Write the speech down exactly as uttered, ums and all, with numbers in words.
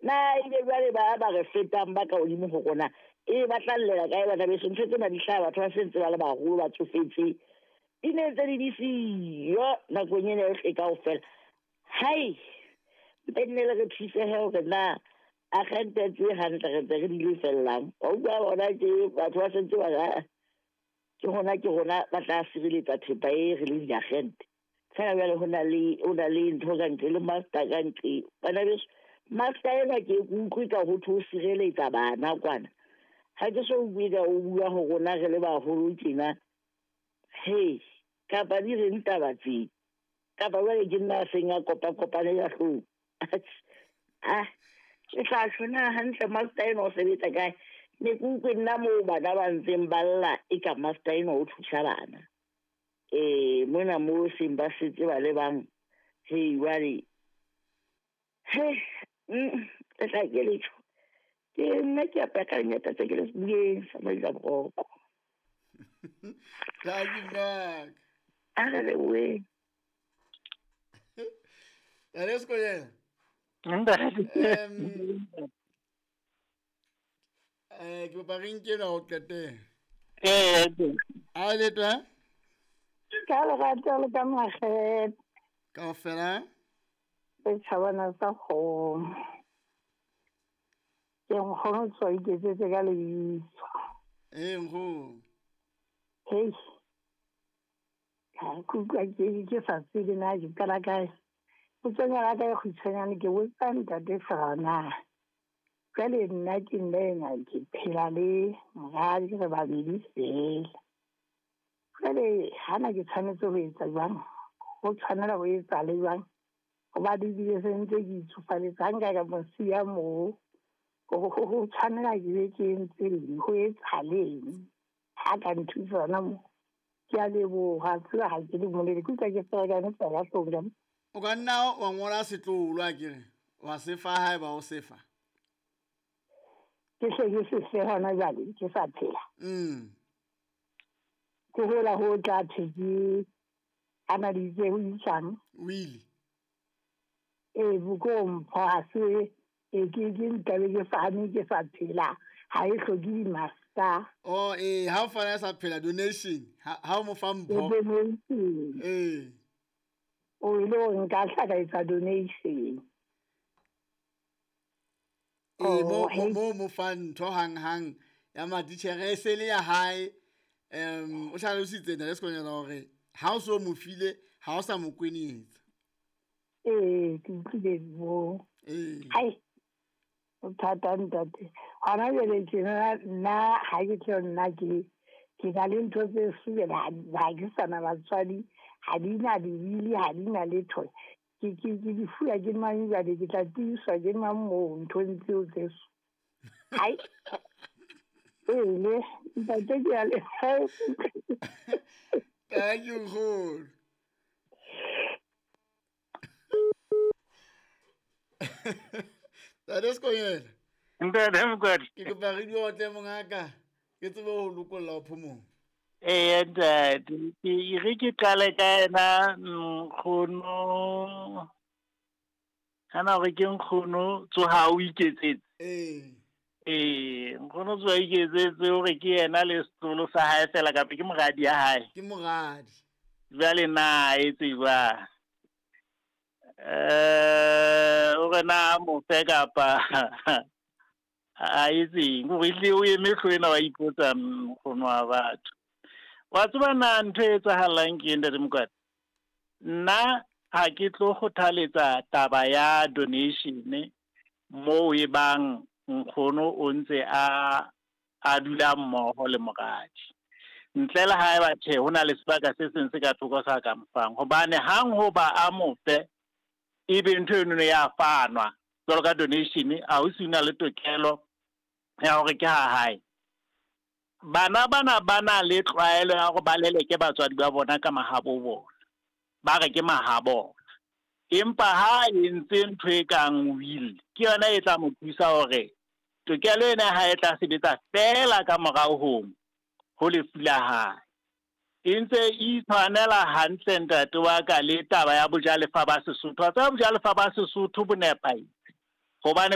Na ebe jwale ba ba re fetang ba ka hodimo ho rona e ba tla llela kae bana beso? Ntho tsena di hlaha batho ba sentse ba le baholo ba tsofetse. Di ne ntse di di siyo nakong ena yohle kaofela. Hai, mpe nne le re thusehe hore na agente tse hantle re ntse re di lefellang. Wa utlwa bona ke batho ba sentse ba re ke hona ke rona ba tla sireletsa thepa e re leng diagente. Fela jwale ho na le ho na le ntho ka ntle le master ka ntle. Bana beso, master ena ke utlwe ka ho thwe o sireletsa bana kwana. Ha ke so utlwe ka o bua ho rona re le baholo tjena. Hei, kapa di reng taba tse? Kapa jwale ke nna a seng a kopa-kopane ya hlooho. Ah, ke tla tjho na hantle master ena o sebetsa kae? Ne ke utlwe nna moo bana ba ntseng ba lla e ka master ena o thusa bana. Eh, mona moo seng ba setse ba le bang. Hei, jwale. Hei, mm, le tla ke letho. Ke nna ke apaya ka lenyata tse ke le bueng sa Maila Boroko. Thank you, Mark. A re leboheng. Ntate Sekonyela. Ntate. Um, eh, ke kopa re nke ena ho qetela. Ee. A le twa? Ka lerato le ka makgethe. Kaofela? Setjhabana sa kgomo. Ke nkgono tswa iketsetse ka lebitso. Ee, nkgono. Hei, ha ke utlwa ke ke sa tsebe na ke qala kae. Potso ya ka e kgutshwanyane ke botsa ntate Serana. Jwale nna ke nna ena ke phela le moradi re babedi feela. Jwale hana ke tshwanetse ho etsa jwang? Ho tshwanela ho etsa le jwang? Hobane ebile se ntse ke itsofaletse ha nka ka mo siya moo. Ho tshwanela ke be ke entse eng? Ho etsahaleng? Ha ka nthusa hona moo. Ke a leboha, tseba ha ke le molele. Ke utlwa ke ferekane fela hloohong. O ka nna wa ngola setloholo akere, wa se fa haeba o se fa. Ke hle ke se fe hona jwale, ke sa phela. Mm. Ke hola ho tla thwe ke analyse ho itsang. Wili. Ee, boko mpho ha se e ke ke nkabe ke fane ke sa phela. Ha e hloke di-master. Oh, eh, ha o fana sa phela donation, ha ha o mo fa mpho. Donation. Eh. O ile o nka hla ka etsa donation. Eh, mo Oh, mo mo mo fa ntho hang hang ya matitjhere e se le ya hae. Um, o hlalositse nna le Sekonyela hore ha o so mo file, ha o sa mo kwenyetsa. Ee, ke utlwile moo. Ee. Hai, o thata ntate. Hona jwale tjena nna ha ke tlo nna ke ke na le ntho tse subela ha ke sana batswadi, ha di na dibili, ha di na letho. Ke ke ke di fuya ke mang jwale, ke tla tiiswa ke mang moo nthong tseo tse so. Hai. Ee, le ntate ke a le. Thank you, nkgono. Ntate Sekonyela. Ntate Mokwadi. Ke kopa re di otle mongaka, ke tsebe ho lokolla ho phomong. Ee, ntate, ke re ke qale ka yena nkgono. Hana hore ke nkgono tsoha o iketsetse. Ee. Ee, nkgono tsoha o iketsetse hore ke yena le setloholo sa hae fela kapa ke moradi ya hae. Ke moradi. Jwale na etse jwang? Eh, hore na mo fe kapa a etseng? Hore ehlile o eme hlooho ena wa ipotsa nkgono wa batho. Wa tseba na ntho e etsahalang ke eng, Ntate Mokwadi? Nna ha ke tlo kgothaletsa taba ya donation moo e bang nkgono o ntse a a dula mmoho le moradi. Ntle le haeba tjhe ho na le sebaka se seng se ka thoko sa ka mofang. Hobane hang hoba a mo fe, ebe ntho eno ya fanwa jwalo ka donation, a ho se na le tokelo ya hore ke ha hae. Bana bana ba na le tlwaelo ya hore ba leleke batswadi ba bona ka mahabo bona. Ba re ke mahabo. Empa ha entse ntho e kang will, ke yona e tla mo thusa hore tokelo ena ha e tla sebetsa fela ka morao ho ho lefu la hae. E ntse e tshwanela hantle ntate wa ka le taba ya bojalefa ba Sesotho. Wa tseba bojalefa ba Sesotho bo nepahetse. Hobane